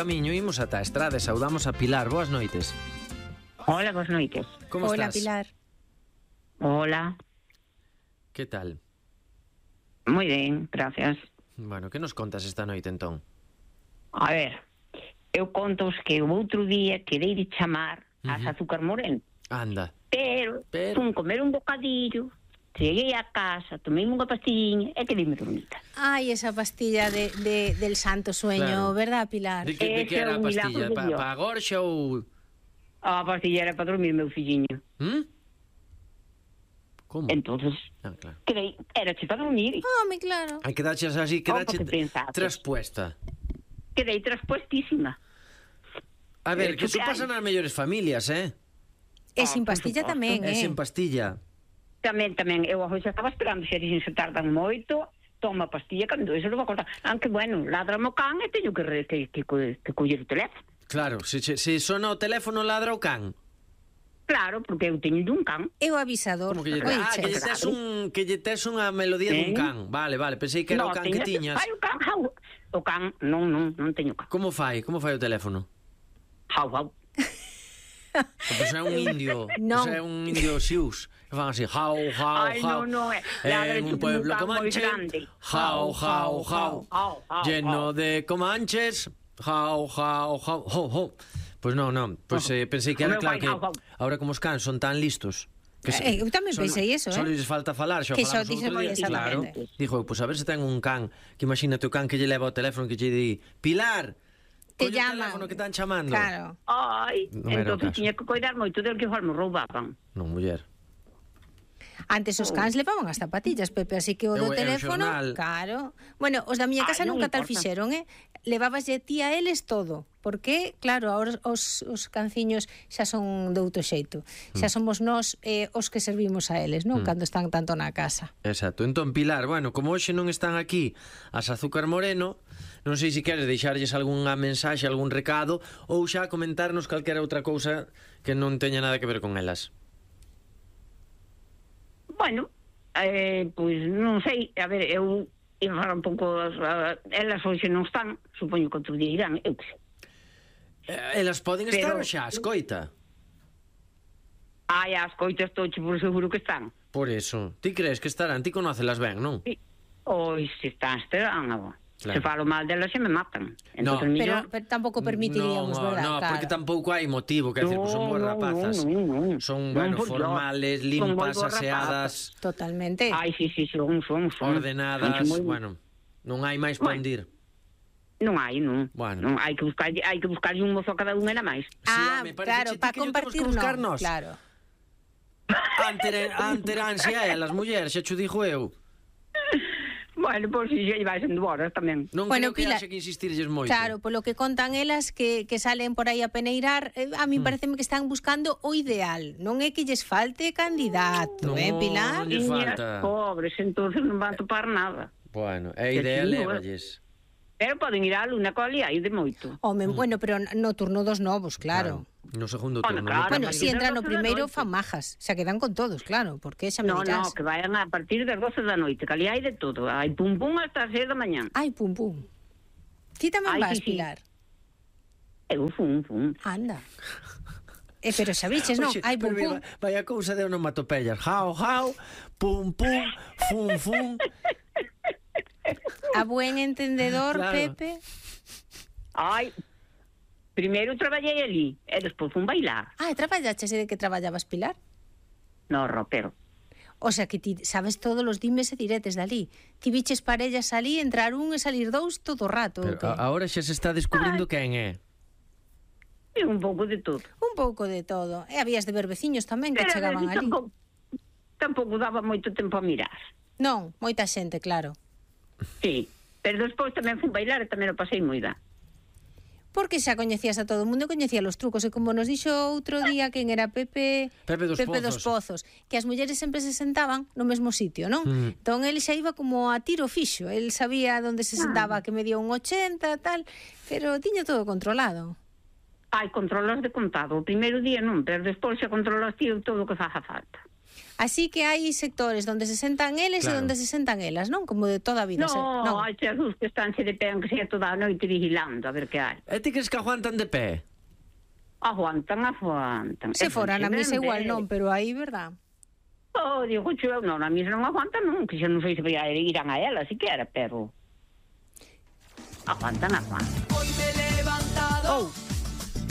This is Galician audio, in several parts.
camiño, imos ata a estrada e saudamos a Pilar. Boas noites. Hola, boas noites. Como Hola, estás? Pilar. Hola. Que tal? Moi ben, gracias. Bueno, que nos contas esta noite entón? A ver, eu contos que o outro día quedei de chamar as azúcar moreno, Anda. pero fun comer un bocadillo, cheguei a casa, tomei unha pastillinha e quedei-me dormida. Ai, esa pastilla del santo sueño, Claro. verdad, Pilar? De que Ese era a é un pastilla? milagro de Dios. Pa gorxa ou... A pastilla era para dormir, meu filliño. Como? Entonces, Claro. quedei, era para dormir. Home, claro. Hai que daches así, que dache Como que pensaste? traspuesta. Quedei traspuestísima. A ver, que Eso eso que pasa hai. nas mellores familias, E sin por pastilla suposto. tamén, É sen pastilla. Tamén, eu hoxe estaba esperando, se dixen se tardan moito, toma a pastilla, cando eso non vou contar. Aunque, bueno, ladra o can e teño que coller o teléfono. Claro, se sona o teléfono ladra o can. Claro, porque eu teño un can. É o avisador. Como que lle, Oiche, que lle tes unha melodía dun can. Vale, pensei que era o can que tiñas. Fai o can, jau. O can, non teño can. Como fai o teléfono? Jau. Pois é un indio, Non. pois é un indio xius. Que fan así, jau, Ai, non, ladra en un tipo pueblo un can moi comanche, grande. jau, lleno de comanches, jau, ho. Pois non, pois pensei que era O meu claro pai, que jau. ahora como os cans son tan listos. Eu tamén pensei eso, Só lles falta falar, xa Que só falamos dixen outro día. Claro, exactamente. dijo, pois a ver se ten un can, que imagínate o can que lle leva o teléfono que lle di, Pilar, Te colle o llaman. teléfono que están chamando. Claro. Ai, Non era o entón caso. tiña que coidar moito del que igual me roubaban. Non, muller. Antes os cans levaban as zapatillas, Pepe, así que o Eu- do eu teléfono, xornal. claro. Bueno, os da miña casa Ai, non nunca tal importa. fixeron, Levabaslle ti a eles todo, porque, claro, ahora os canciños xa son de outro xeito. Xa somos nós os que servimos a eles, non? Cando están tanto na casa. Exacto. Entón, Pilar, bueno, como hoxe non están aquí as Azúcar Moreno, non sei se queres deixarlles algunha mensaxe, algún recado, ou xa comentarnos calquera outra cousa que non teña nada que ver con elas. Bueno, pois non sei, a ver, eu ia falar un pouco, elas hoxe non están, supoño que outro día irán, eu que sei. Elas poden estar Pero- xa, escoita. Ai, as coitas toche por seguro que están. Por eso. Ti crees que estarán? Ti conócelas ben, non? Oi, se están, estarán, Claro. se falo mal delas se me matan. No. Entón, Pero tampouco permitiríamos, verdad? No, Claro. porque tampouco hai motivo, que decir, pues son boas rapazas. Son, bueno, formales, limpas, aseadas, Totalmente. Ai, sí, son. ordenadas, Moi- bueno, non hai máis para ondir. Non hai, non. Bueno. Non, hai que buscarlle un mozo a cada unha era máis. home, parece claro, ti para que lle temos compartir que buscar no, nós. claro. Anteransia é as mulleres, xa cho dixo eu. Bueno, pois si xa vai sendo horas tamén. Non Bueno, creo que Pilar, haxe que insistirlles moito. Claro, polo que contan elas que salen por aí a peneirar, a mí pareceme que están buscando o ideal. Non é que lles falte candidato, No, Pilar? non lles falta. Pobres, entonces non van topar nada. Bueno, é Que ideal, sí, lévalles. Pero poden ir á luna coa hai de moito. Home, bueno, pero no turno dos novos, claro. No segundo Bueno, turno. claro, no Bueno, a primeiro. si partir entran das no 12 da primeiro noite. fan majas, se quedan con todos, claro, porque xa me No, dirás. que vayan a partir das 12 da noite, que ali hai de todo. Hai pum hasta as 6 da mañán. Ai, pum. Ti tamén Ai, vas, sí, sí. Pilar? Eu fun. Anda. Pero xa viches, non? Oxe, Ai, pero pum. mira, vaya cousa de onomatopeyas. Jau, pum, fum. A buen entendedor, Claro. Pepe. Ai, primeiro traballei ali, e despois fun bailar. Ah, e traballaches de que traballabas, Pilar? No ropero. O sea que ti sabes todos os dimes e diretes dali. Ti biches parellas ali, entrar un e salir dous todo o rato. Pero o que? ahora xa se está descubrindo quen é. E un pouco de todo. Un pouco de todo. E habías de ver veciños tamén que Pero chegaban ali. tampouco daba moito tempo a mirar. Non, moita xente, claro. Sí, pero despois tamén fun bailar e tamén o pasei moi ben. Porque xa coñecías a todo o mundo, coñecía os trucos, e como nos dixo outro día quen era Pepe dos dos Pozos, que as mulleres sempre se sentaban no mesmo sitio, non? Entón ele xa iba como a tiro fixo, el sabía onde se sentaba, que medía un 80, tal, pero tiña todo controlado. Ai, controlas de contado. O primeiro día non, pero despois xa controlas ti todo o que faja falta. Así que hai sectores onde se sentan eles e onde se sentan elas, non? Como de toda a vida. No, hai xesus que estánse de pé en que sea toda a noite vigilando a ver que hai. E ti crees que aguantan de pé? Aguantan. Se fora na misa igual non, pero aí, verdad? Oh, digo, eu non, na misa non aguantan non, que xa non sei se irán a ela, siquiera, pero... Aguantan. Oh,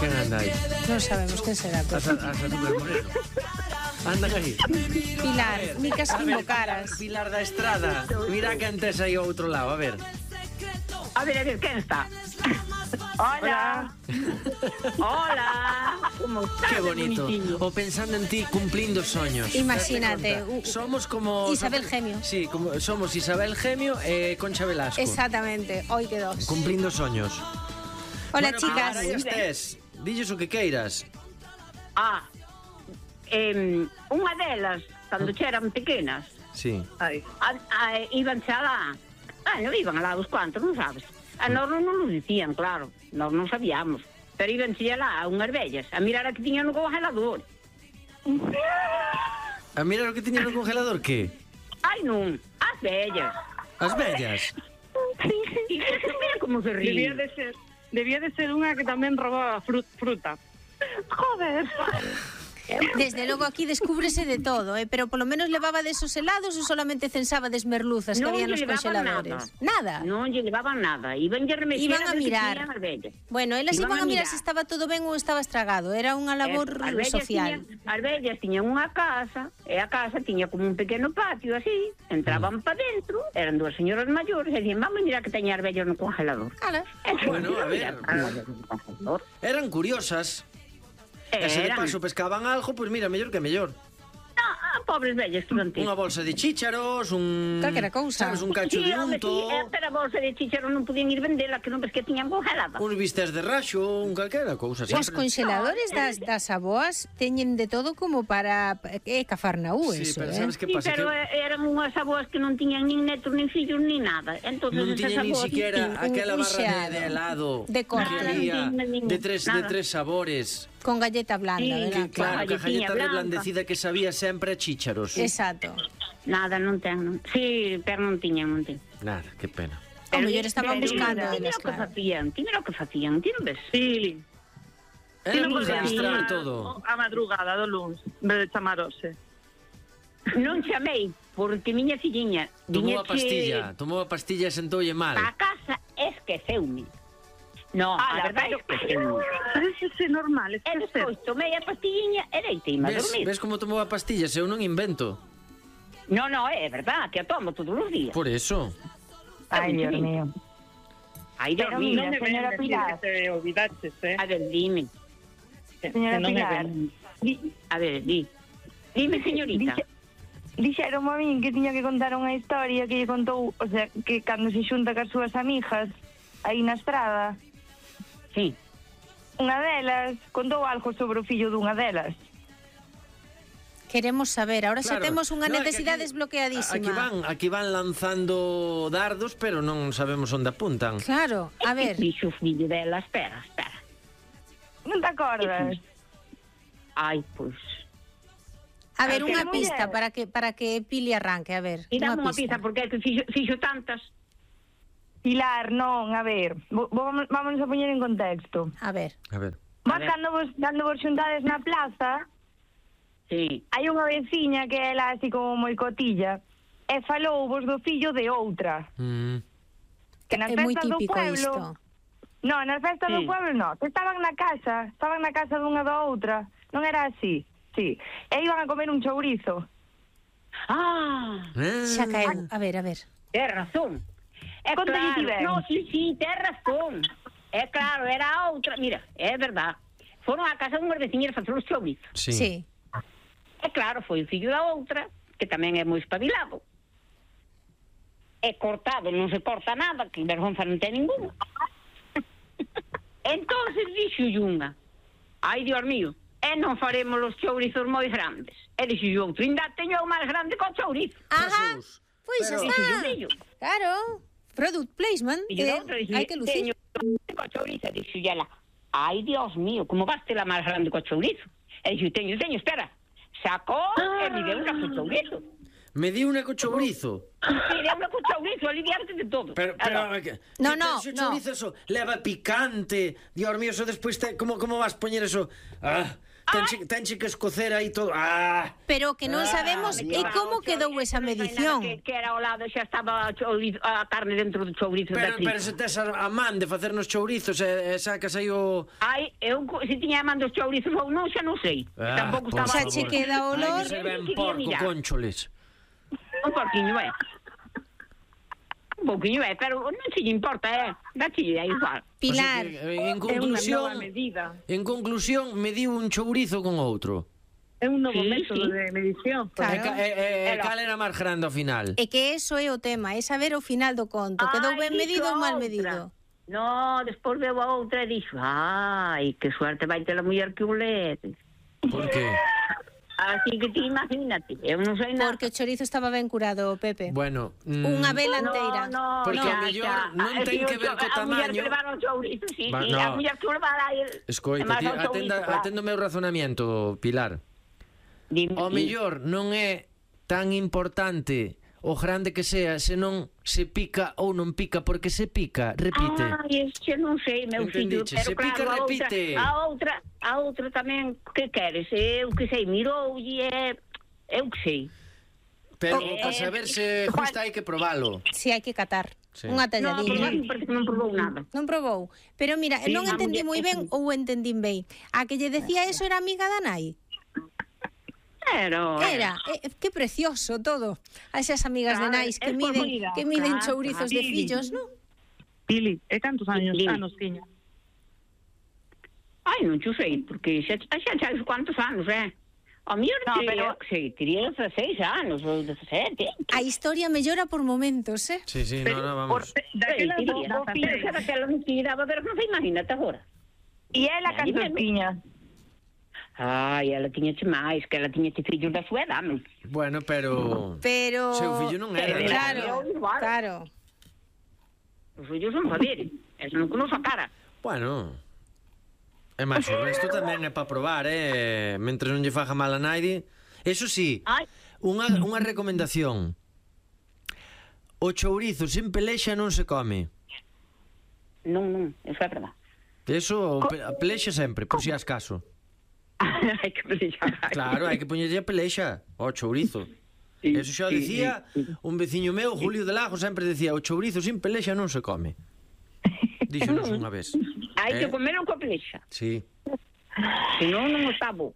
Quen anda aí? non sabemos quen será, pero... A Azúcar Moreno. Anda aí. Pilar, micas como caras. Pilar da Estrada. Mira quen tes aí ao outro lado, a ver. A ver, quen está? Hola. Hola. Como estás? Qué bonito. O pensando en ti cumplindo soños. Imagínate. Somos como... Isabel Gemio. Sí, como somos Isabel Gemio e Concha Velasco. Exactamente, hoy que dos. Cumplindo soños. Hola, bueno, chicas. Ahora ya estés. Dilles o que queiras. Unha delas, cando eran pequenas, Sí. iban xa lá. Non iban alá dos cuantos, non sabes? A nós non nos dicían, claro. Nós non sabíamos. Pero iban xa lá unhas vellas a mirar a que tiñan no congelador. A mirar o que tiña no congelador, que? Ai, non, as vellas. As vellas. Mira como se ríe. Debía de ser unha que tamén robaba fruta. Joder. Desde logo aquí descúbrese de todo, pero polo menos levaba desos helados ou solamente censaba des merluzas que había nos congeladores? Nada. Non lle levaban nada. Iban a mirar. Bueno, elas iban a mirar se estaba todo ben ou estaba estragado. Era unha labor social. As vellas tiñan unha casa, e a casa tiña como un pequeno patio así, entraban para dentro, eran dúas señoras maiores, e dicían, vamos a mirar que teña as vellas no congelador. Bueno, a ver. Eran curiosas. E se de paso pescaban algo, pois mira, mellor que mellor. Pobres vellas que non Unha bolsa de chícharos, calquera cousa. Sabes, un cacho de unto. Pero a bolsa de chícharos non podían ir vendela, que non ves que tiñan congelada. Uns bistes de raxo, un calquera cousa. Os congeladores das aboas teñen de todo como para Cafarnaú, sí, eso, pero sabes que pasa? Pero eran unhas aboas que non tiñan nin netos, nin fillos, nin nada. Non tiñan nin siquiera aquela barra de helado de corte que había de tres sabores. Con galleta blanda, ¿verdad? Claro, que a galleta reblandecida que sabía sempre a chícharos. Exacto. Nada, non ten, non. Sí, pero non tiñan. Nada, que pena. O mellor estaban buscando elas, claro. Ti mira o que facían, ti non ves? Sí. Era luz de mostrar todo. A madrugada do luns, en vez de chamarose. Non chamei, porque miña filliña... Tomou a pastilla e sentoulle mal. A casa esqueceume. No, a verdade esqueceume. Pero iso é normal, E despois tomei a pastilliña e deiteime a dormir. Ves como tomou a pastilla? Se eu non invento. No, é verdad, que a tomo todos os días. Por eso. Ai, Dios mío. Ai, Dios mío. Non me señora ven decir Pilar. que te olvidaches, A ver, dime. Señora Pilar. A ver, dime, señorita. Dixeron a min que tiña que contar unha historia que lle contou, o sea, que cando se xunta cas súas amigas aí na estrada, Sí. unha delas contou algo sobre o fillo dunha delas. Queremos saber, ahora xa Claro. temos unha No, é que necesidade aquí- desbloqueadísima. Aquí van lanzando dardos, pero non sabemos onde apuntan. Claro, a ver. Dixo o fillo dela, espera. Non te acordas? Ai, pois... A ver, unha muller. pista para que Pili arranque, a ver. E dame unha pista, porque é que fixo tantas. Pilar, non, a ver, vamos a poñer en contexto. A ver. A ver. Vos cando vos xuntades na plaza, Sí. hai unha veciña que é así como moi cotilla, e falou vos do fillo de outra. Que nas É moi festas do típico pueblo... isto. No, nas festas do Sí. pueblo no. Estaban na casa dunha da outra. Non era así, sí. E iban a comer un chourizo. Xa caeu. A ver. Tens razón. É Conta-lle ti ben. No, sí, tens razón. É claro, era a outra. Mira, é verdad. Foron á casa dunhas veciñas facer os chourizos. Sí. É claro, foi o fillo da outra, que tamén é moi espabilado. É cortado, non se corta nada, que vergonza non ten ninguna. Entonces dixo unha, ai, Dios mío, e non faremos os chourizos moi grandes. E dixo outro, ainda teño o máis grande co chourizo. Ajá. Pois Pero- está. Dixo, Claro. Product placement. E o outro dixo, Hai que lucir. teño co chourizo. E dixo ela, ai, Dios mío, como vas ter a máis grande co chourizo? E dixo, teño, espera. sacou e me deu unha co chourizo. Me di unha co chourizo. Me deu unha co chourizo, aliviarte de todo. Pero No, o chourizo eso leva picante. Dios mío, eso despois como vas poñer eso? Tenche que escocer aí todo. Pero que non sabemos como quedou esa medición. Que era ao lado, xa estaba a carne dentro do chourizo da Pero se tes a man de facernos chourizos e sacas aí o... Ai, eu se tiña a man dos chourizos ou non, xa non sei. Tampouco por estaba... Xa che queda olor. Hai que ser ben porco, concholes. Un porquiño, un pouquiño, pero non se lle importa, dáchelle aí igual. Pilar, O sea que, É unha nova medida. en conclusión, mediu un chourizo con outro. É un novo Sí, método sí. de medición. Claro. Cal era máis grande ao final? é que eso é o tema, é saber o final do conto, quedou ben medido ou mal medido. No, despois veo a outra e dixo, ai, que suerte vai ter a muller que o lede. Por qué? Así que ti imagínate, eu non sei nada. Porque o chorizo estaba ben curado, Pepe. Bueno, Unha vela enteira. Porque xa, a mellor xa. non ten que ver co A muller tamaño. que levaron o chourizo, sí, Va, sí, no. a muller que o levara aí. Escoita, ti, atendo o meu razonamiento, Pilar. O mellor non é tan importante o grande que sea, senón se pica ou non pica, porque se pica, repite. Ai, este non sei, meu fillo, Entendiche, pero se pica, claro, repite. a outra tamén, que queres? Eu que sei, miroulle, eu que sei. Pero para saber se justa hai que probalo. Si hai que catar. Sí. Unha Non, talladinha. porque non probou nada. Non probou. Pero mira, Sí, non a entendí moi muller- ben ou entendín ben. A que lle decía eso era amiga da nai? Pero... Era, que precioso todo. A esas amigas de Claro, nais é por vida, que miden claro, chourizos de claro. fillos, non? Pili, e cantos anos Dime. tiña? Ai, non xo sei, porque xa sabes quantos anos, O mellor No, tería, pero- sei, tería 16 anos ou 17. A historia mellora por momentos, Sí, sí, no, vamos. Daquela O filho xa daquela non te daba ver, non se imagínate agora. E ela cantos tiña? Ai, ela tiña máis, que ela tiña fillos da súa edade. Bueno, pero... Pero... Seu fillo non era, Pero- Claro, igual. claro. Os fillos son poderes, eso non conoce a cara. Bueno... E máis, o resto tamén é para probar, mentre non lle faja mal a naide. Eso sí, Ai, unha recomendación. O chourizo sen pelexa non se come. non, eso é verdad. Eso, pelexa sempre, por si as caso. Hai que pelexar. Claro, hai que poñerlle a pelexa ao chourizo. Sí, Eso xa o sí, dicía sí. un veciño meu, Julio de Lago, sempre decía: o chourizo sin pelexa non se come. Díxonos unha vez. Hai que comer con pelexa. Sí. Senón non está bo.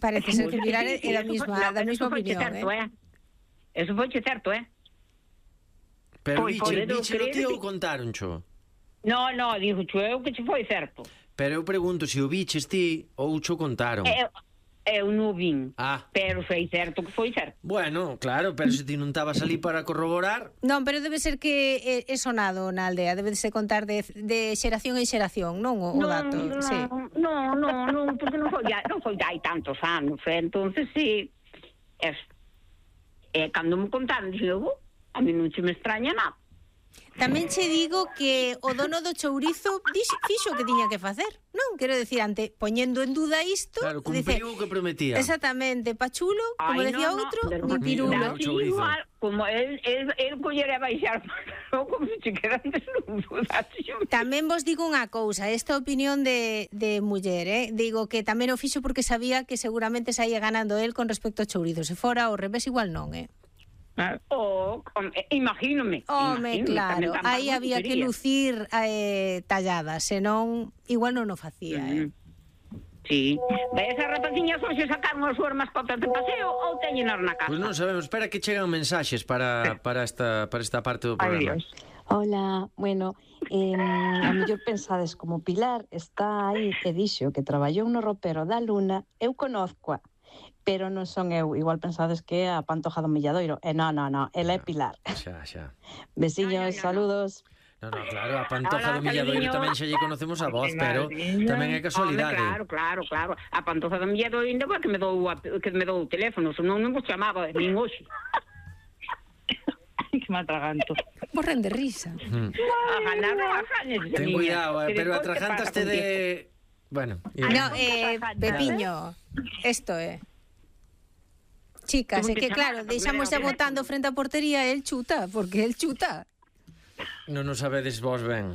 Parece ser que Pilar é da mesma opinión, certo, Eso foi certo, Pero Pois, diche podedo ti creer ou que- contároncho? No, dixo eu que che foi certo. Pero eu pregunto se o biches ti ou cho contaron. Eu non vin, Pero sei certo que foi certo. bueno, claro, pero se ti non estabas ali para corroborar. Non, pero debe ser que é sonado na aldea, debe de se contar de xeración en xeración, non o dato, sí. Non, porque non foi hai tantos anos, entonces sí. Cando me contaron, dixo, a mí non se me extraña nada. Tamén che digo que o dono do chourizo fixo o que tiña que facer, non? Quero decir, ante poñendo en duda isto, Claro, cumpriu o que prometía. Exactamente, pachulo, como decía outro, ni pirulo. Mira, o chourizo. Igual, como el collera a baixar, como se che quedan desnudos. Tamén vos digo unha cousa, esta opinión de muller, digo que tamén o fixo porque sabía que seguramente saía ganando el con respecto ao chourizo. Se fora ao revés igual non, Imagínome. Home, claro, aí había que lucir talladas, senón igual non o facía, Sí. Esas rapaciñas hoxe sacaron as súas mascotas de paseo ou teñenas na casa? Pois non sabemos, espera que chegan mensaxes para esta parte do programa. Hola, bueno, a mellor pensades como Pilar está aí e dixo que traballou no ropero da Luna, eu conozcoa, pero non son eu, igual pensades que é a Pantoja do Milladoiro, e non, ela é Pilar. Xa. Besiños, saludos. No, claro, a Pantoja do Hola, Milladoiro cariño. tamén xa lle conocemos a voz, pero tamén é casualidade. Claro. A Pantoja do Milladoiro ainda foi que me dou o teléfono, senón non vos chamaba nin hoxe. Que me atraganto. Morren de risa. Ten cuidado, pero atragantaste de... Bueno, No, Pepiño, esto é. Chicas, Tuvo é que que claro, chamar, deixamos xa primeiro botando frente á portería e el chuta, porque el chuta. Non nos sabedes vos ben.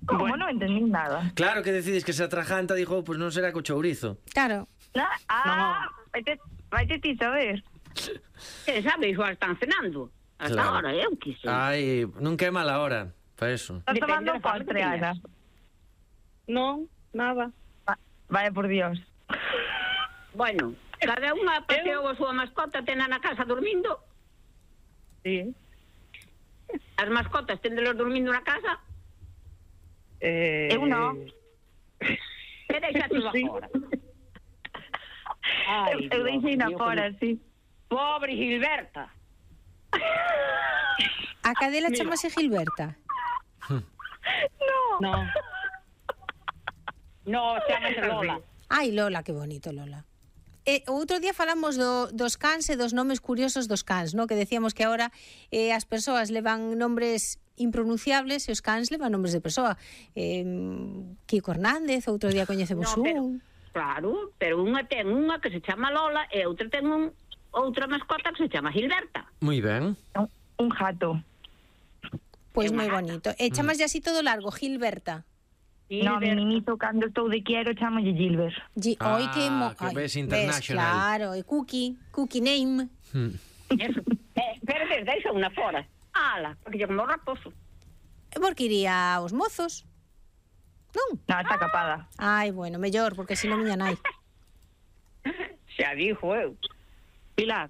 Como non entendí nada. Claro que decides que se atrajanta, dijo, pues non será co chourizo. Claro. Vaite ti saber. Que sabe, igual están cenando. Hasta Claro. ahora, eu que sei. Ai, nunca é mala hora para eso. Estás Depende tomando da fase postre, que Ana. Non, nada. Vaya por Dios. Bueno, cada unha paseou a súa mascota, tena na casa dormindo. Sí. As mascotas tendelos dormindo na casa Eu non. e deixáselos Sí. fora. Ai, Eu deixei na Dios, fora, sí. Pobre Gilberta. A cadela chamase Gilberta. No. No, chamase Lola. Ai, Lola, que bonito, Lola. O outro día falamos dos cans e dos nomes curiosos dos cans, no? Que decíamos que agora as persoas levan nombres impronunciables e os cans levan nombres de persoa. Kiko Hernández, outro día coñecemos No, pero- un. Claro, pero unha ten unha que se chama Lola e outra ten outra mascota que se chama Gilberta. Moi ben. Un jato. Pois É unha moi gata. bonito. E chamas así todo largo, Gilberta. No, mi niñito cando estou de quiero chamalle Gilbert. Oi, que que ves international. claro, e Cookie name. Eso. Pero deixa unha fora. Ala, porque lle como raposo. E porque iría aos mozos? Non? No, está capada. Ai, bueno, mellor, porque si non miña nai. Xa dixo eu. Pilar,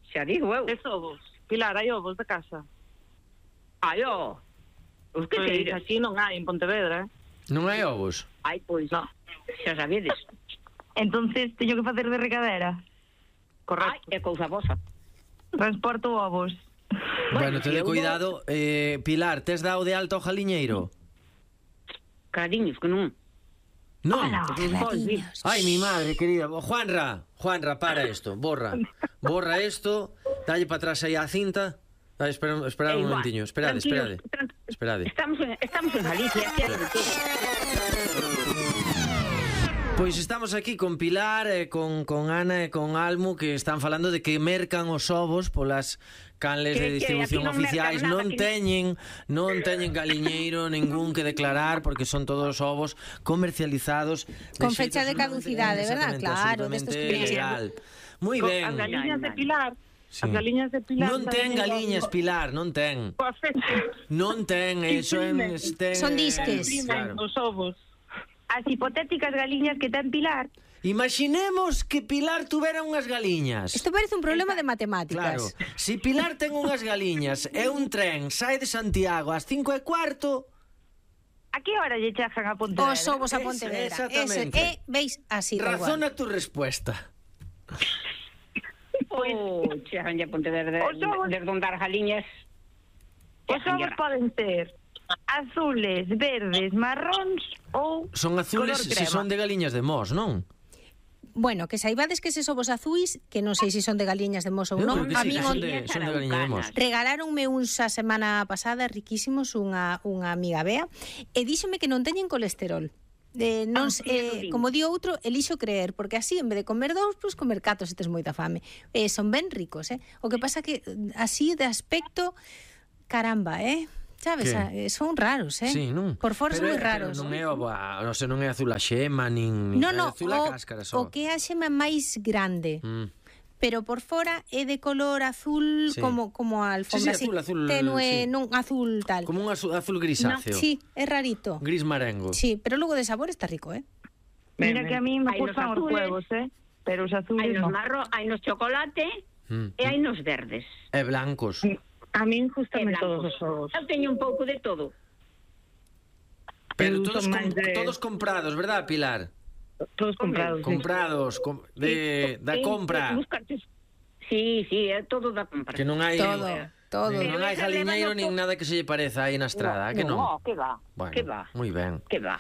Xa dixo eu. es ovos. Pilar, hai ovos de casa. Ai, ó. Os que Pois seires. aquí non hai en Pontevedra, Non hai ovos? Ai, pois, No. xa sabedes. Entonces teño que facer de recadera. Ai, Correcto. é cousa vosa. Transporto ovos. Bueno, te de eu cuidado. Pilar, tes dado de alto ao jaliñeiro? Cariños, que non. Non. Clariños. Ai, mi madre querida. Juanra, para esto. Borra esto. Dalle para atrás aí a cinta. Dale, espera un Igual. momentiño. Esperade. Estamos en Galicia, aquí hai de todo. Pois estamos aquí con Pilar, con Ana e con Almu, que están falando de que mercan os ovos polas canles de Que distribución aquí non oficiais. mercan nada, Non teñen galiñeiro ningún que declarar, porque son todos ovos comercializados Con xeito fecha de caducidade, ¿verdad? absolutamente, Claro, absolutamente destos que legal. Moi As ben. galiñas de Pilar. Sí. As galiñas de Pilar. Non ten galiñas, Pilar, non ten. Coa fecha. Non ten, eso é... Son disques. Claro. Os ovos. As hipotéticas galiñas que ten Pilar. Imaginemos que Pilar tuvera unhas galiñas. Isto parece un problema de Claro, matemáticas. si Pilar ten unhas galiñas e un tren sai de Santiago ás 5:15, A que hora lle chegan a Pontevedra? Os ovos a Pontevedra. Exactamente. Veis así, da igual. razona tu respuesta. Chegan a Pontevedra Os ovos- desde onde as galiñas. Os ovos poden ser azules, verdes, marróns ou Son azules color se crema. son de galiñas de Mos, non? Bueno, que saibades que eses ovos azuis, que non sei se son de galiñas de mos ou Eu non, creo que a sí, min que son de galiña de Mos. regaláronme uns a semana pasada riquísimos unha amiga Bea e díxome que non teñen colesterol. Non, sí, eso din. como di outro, elixo creer, porque así en vez de comer dous, pois comer catro se tes moita fame. Son ben ricos, O que pasa que así de aspecto, caramba, sabes, son raros, Sí, non? Por fora son moi Pero raros. non é non sei, non é azul a xema, nin No, é azul a cáscara só. o que é a xema máis grande. Pero por fora é de color azul Sí. como a alfombra, Sí, azul, tenue, sí. non azul tal. Como un azul grisáceo. Sí, é rarito. Gris marengo. Sí, pero logo de sabor está rico, Mira que a mí me Hai nos gustan os azules. huevos, pero os Hai azules nos no. marro, hai nos chocolate e hai nos verdes. E blancos. A min E gustame todos blancos. os ovos. Eu teño un pouco de todo. Pero Eu todos, son máis de- todos comprados, verdad, Pilar? Todos comprados. sí. Comprados, da compra. Sí, é todo da compra. Que non hai Todo. non hai jaliñeiro nin nada que se lle pareza aí na estrada, que non? No, que va, Bueno, que va, moi ben. que va.